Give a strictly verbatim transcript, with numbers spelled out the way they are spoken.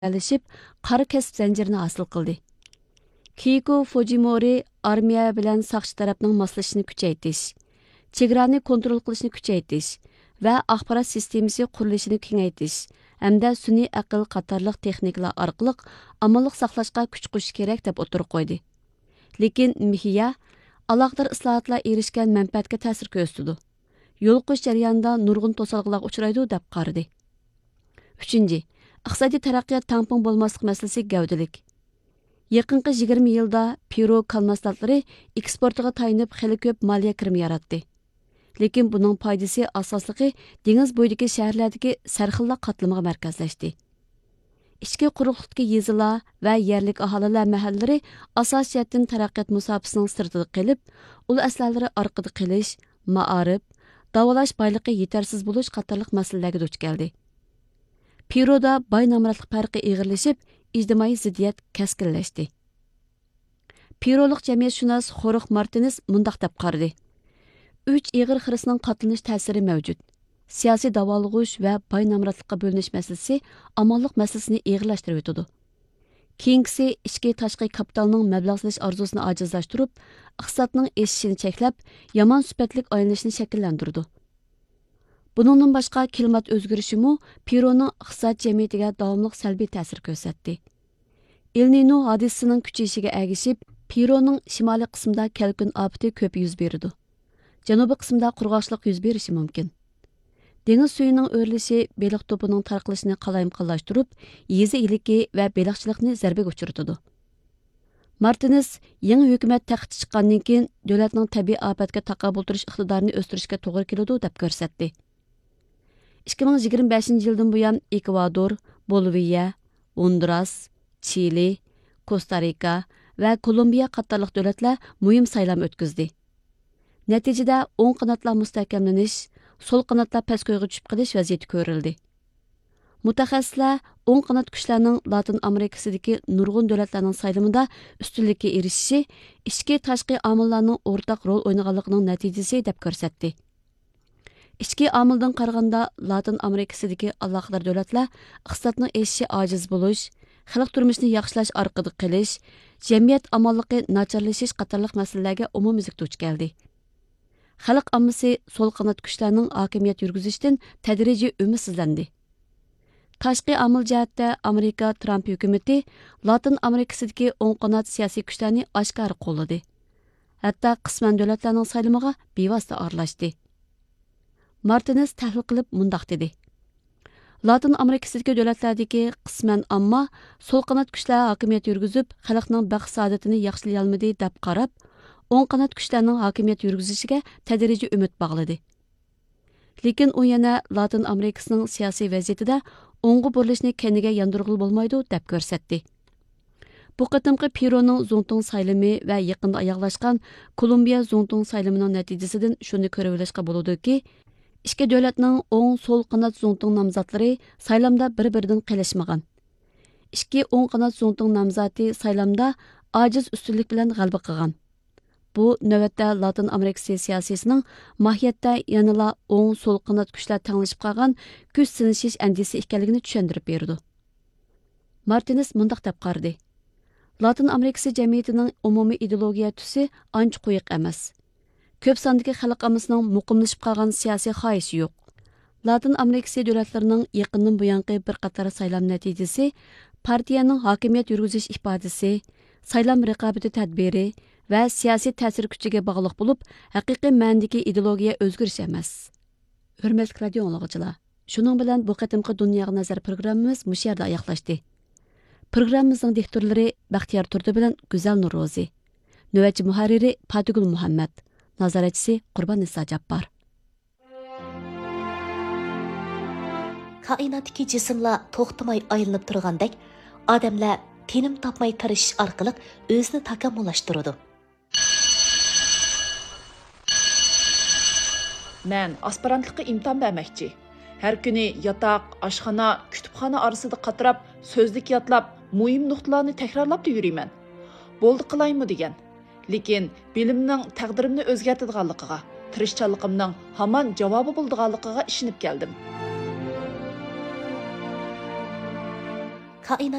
بىرلەشىپ، قارا كەسىپ زەنجىرىنى ھاسىل قىلدى. كېيكو فۇجىمورى ئارمىيە بىلەن ساقچى تەرەپنىڭ ماسلىشىشىنى كۈچەيتىش، چېگرانى كونترول قىلىشنى كۈچەيتىش ۋە ئاخبارات سىستېمىسى قۇرۇلۇشىنى كېڭەيتىش ھەمدە سۈنئىي ئەقىل قاتارلىق تېخنىكىلار ئارقىلىق ئامانلىق ساقلاشقا كۈچ قوشۇش كېرەك، دەپ ئوتتۇرىغا قويدى. لېكىن مېخىيا ئالاقىدار ئىسلاھاتلار ئېرىشكەن مەنپەئەتكە تەسىر كۆرسىتىدۇ، يول قويۇش جەريانىدا نۇرغۇن توسالغۇلارغا ئۇچرايدۇ، دەپ قارىدى. ئۈچىنچى، ئىقتىسادىي تەرەققىيات تەڭپۇڭ بولماسلىق مەسىلىسى گەۋدىلىك. يېقىنقى يىگىرمە يىلدا پېرۇ كال مەھسۇلاتلىرى ئېكسپورتىغا تايىنىپ خېلى كۆپ مالىيە كىرىمى ياراتتى. لېكىن بۇنىڭ پايدىسى ئاساسلىقى دېڭىز بويىدىكى شەھەرلەردىكى سەرخىللىق قاتلىمىغا مەركەزلەشتى. ئىچكى قۇرۇقلۇقتىكى يېزىلار ۋە يەرلىك ئاھالىلەر مەھەللىلىرى ئاساسىي جەھەتتىن تەرەققىيات مۇساپىسىنىڭ سىرتىدا قېلىپ، ئۇل ئەسلەرلىرى ئارقىدا قېلىش، مائارىپ، داۋالاش بايلىقى يېتەرسىز بولۇش قاتارلىق مەسىلىلەرگە دۇچ كەلدى. پېرودا باي نامراتلىق پەرقى ئېغىرلىشىپ، ئىجتىمائىي زىددىيەت كەسكىنلەشتى. پېرولۇق جەمئىيەتشۇناس خورخ مارتىنېز مۇنداق دەپ قارىدى: ئۈچ ئېغىر خىرىسنىڭ قاتلىنىش تەسىرى مەۋجۇت. سىياسىي داۋالغۇش ۋە باي نامراتلىققا بۆلۈنۈش مەسىلىسى ئامانلىق مەسىلىسىنى ئېغىرلاشتۇرۇۋېتىدۇ. كېيىنكىسى ئىچكى تاشقى كاپىتالنىڭ مەبلەغ سېلىش ئارزۇسىنى ئاجىزلاشتۇرۇپ، ئىقتىسادنىڭ ئېشىشىنى چەكلەپ، يامان سۈپەتلىك ئايلىنىشنى شەكىللەندۈرىدۇ. بۇنىڭدىن باشقا، كىلىمات ئۆزگىرىشىمۇ پېرونىڭ ئىقتىساد جەمئىيىتىگە داۋاملىق سەلبىي تەسىر كۆرسەتتى. ئېل نىنو ھادىسىسىنىڭ كۈچىيىشىگە ئەگىشىپ، پېرونىڭ شىمالىي قىسمىدا كەلكۈن ئاپىتى كۆپ يۈز بېرىدۇ. جەنۇبىي قىسمىدا قۇرغاقچىلىق يۈز بېرىشى مۇمكىن. دېڭىز سۈيىنىڭ ئۆرلىشى بېلىق توپىنىڭ تارقىلىشىنى قالايمىقانلاشتۇرۇپ، يېزا ئىگىلىكى ۋە بېلىقچىلىقنى زەربىگە ئۇچرىتىدۇ. مارتىنېز يېڭى ھۆكۈمەت تەختكە چىققاندىن كېيىن، دۆلەتنىڭ تەبىئىي ئاپەتكە تاقابىل تۇرۇش ئىقتىدارىنى ئۆستۈرۈشكە توغرا كېلىدۇ، دەپ كۆرسەتتى. ئىككى مىڭ يىگىرمە بەشىنچى يىلدىن بۇيان، ئېكۋادور، بولىۋىيە، ھوندۇراس، چىلى، كوستا رىكا ۋە كولومبىيە قاتارلىق دۆلەتلەر مۇھىم سايلام ئۆتكۈزدى. نەتىجىدە، ئوڭ قاناتلار مۇستەھكەملىنىش، سول قاناتلار پەسكويغا چۈشۈپ قېلىش ۋەزىيىتى كۆرۈلدى. مۇتەخەسسىسلەر ئوڭ قانات كۈچلەرنىڭ لاتىن ئامېرىكىسىدىكى نۇرغۇن دۆلەتلەرنىڭ سايلىمىدا ئۈستۈنلۈككە ئېرىشىشى ئىچكى تاشقى ئامىللارنىڭ ئورتاق رول ئوينىغانلىقىنىڭ نەتىجىسى، دەپ كۆرسەتتى. ئىچكى ئامىلدىن قارىغاندا، لاتىن ئامېرىكىسىدىكى ئالاقىدار دۆلەتلەر ئىقتىسادنىڭ ئېشىشى ئاجىز بولۇش، خەلق تۇرمۇشىنى ياخشىلاش ئارقىدا قېلىش، جەمئىيەت ئامانلىقى ناچارلىشىش قاتارلىق مەسىلىلەرگە ئومۇميۈزلۈك دۇچ كەلدى. خەلق ئاممىسى سول قانات كۈچلەرنىڭ ھاكىمىيەت يۈرگۈزۈشىدىن تەدرىجىي ئۈمىدسىزلەندى. تاشقى ئامىل جەھەتتە، ئامېرىكا ترامپ ھۆكۈمىتى لاتىن ئامېرىكىسىدىكى ئوڭ قانات سىياسىي كۈچلەرنى ئاشكارا قوللىدى. ھەتتا قىسمەن دۆلەتلەرنىڭ سايلىمىغا بىۋاسىتە ئارىلاشتى. مارتىنېز تەھلىل قىلىپ مۇنداق دېدى: لاتىن ئامېرىكىسىدىكى دۆلەتلەردىكى قىسمەن ئامما سول قانات كۈچلەر ھاكىمىيەت يۈرگۈزۈپ، خەلقنىڭ بەخت-سائادىتىنى ياخشىلىيالمىدى، دەپ قاراپ، ئوڭ قانات كۈچلەرنىڭ ھاكىمىيەت يۈرگۈزۈشىگە تەدرىجىي ئۈمىد باغلىدى. لېكىن ئۇ يەنە لاتىن ئامېرىكىسىنىڭ سىياسىي ۋەزىيىتىدە ئوڭغا بۇرۇلۇشنى كەينىگە ياندۇرغىلى بولمايدۇ، دەپ كۆرسەتتى. بۇ قېتىمقى پېرونىڭ زۇڭتۇڭ سايلىمى ۋە يېقىندا ئاياغلاشقان كولومبىيە زۇڭتۇڭ سايلىمىنىڭ نەتىجىسىدىن شۇنى كۆرۈۋېلىشقا بولىدۇكى، ئىككى دۆلەتنىڭ ئوڭ، سول قانات زۇڭتۇڭ نامزاتلىرى سايلامدا بىر-بىرىدىن قېلىشمىغان. ئىككى ئوڭ قانات زۇڭتۇڭ نامزاتى سايلامدا ئاجىز ئۈستۈنلۈك بىلەن غەلىبە قىلغان. بۇ، نۆۋەتتە لاتىن ئامېرىكىسى سىياسىيسىنىڭ ماھىيەتتە يەنىلا ئوڭ، سول قانات كۈچلەر تەڭلىشىپ قالغان كۈچ سىنىشىش ئەندىزىسى ئىكەنلىكىنى چۈشەندۈرۈپ بېرىدۇ. مارتىنېز مۇنداق دەپ قارىدى: لاتىن ئامېرىكىسى جەمئىيىتىنىڭ ئومۇمىي ئىدېئولوگىيە تۈسى ئانچە قويۇق ئەمەس. كۆپ ساندىكى خەلق ئاممىسىنىڭ مۇقىملىشىپ قالغان سىياسىي خاھىشى يوق. لاتىن ئامېرىكىسى دۆلەتلىرىنىڭ يېقىندىن بۇيانقى بىر قاتار سايلام نەتىجىسى پارتىيەنىڭ ھاكىمىيەت يۈرگۈزۈش ئىپادىسى، سايلام رىقابىتى تەدبىرى ۋە سىياسىي تەسىر كۈچىگە باغلىق بولۇپ، ھەقىقىي مەنىدىكى ئىدېئولوگىيە ئۆزگىرىش ئەمەس. ھۆرمەتلىك رادىيو ئاڭلىغۇچىلار، شۇنىڭ بىلەن بۇ قېتىمقى دۇنياغا نەزەر پروگراممىمىز مۇشۇ يەردە ئاياغلاشتى. پروگراممىمىزنىڭ دىكتورلىرى بەختىيار تۇردى بىلەن گۈزەل نۇرروزى. نۆۋەتچى مۇھەررىرى پاتىگۈل مۇھەممەت. نازارەتچىسى قۇرباننىسا جاپپار. كائىناتتىكى جىسىملار توختىماي ئايلىنىپ تۇرغاندەك، ئادەملەر تىنىم تاپماي تىرىشىش ئارقىلىق ئۆزىنى تاكامۇللاشتۇرىدۇ. مەن ئاسپىرانتلىققا ئىمتىھان بەرمەكچى. ھەر كۈنى ياتاق، ئاشخانا، كۇتۇپخانا ئارىسىدا قاتراپ، سۆزلۈك ياتلاپ، مۇھىم نۇقتىلارنى تەكرارلاپلا يۈرىمەن. بولدى قىلايمۇ دېگەن. لېكىن بىلىمنىڭ تەقدىرىمنى ئۆزگەرتىدىغانلىقىغا، تىرىشچانلىقىمنىڭ ھامان جاۋابى بولىدىغانلىقىغا ئىشىنىپ كەلدىم. كائىنات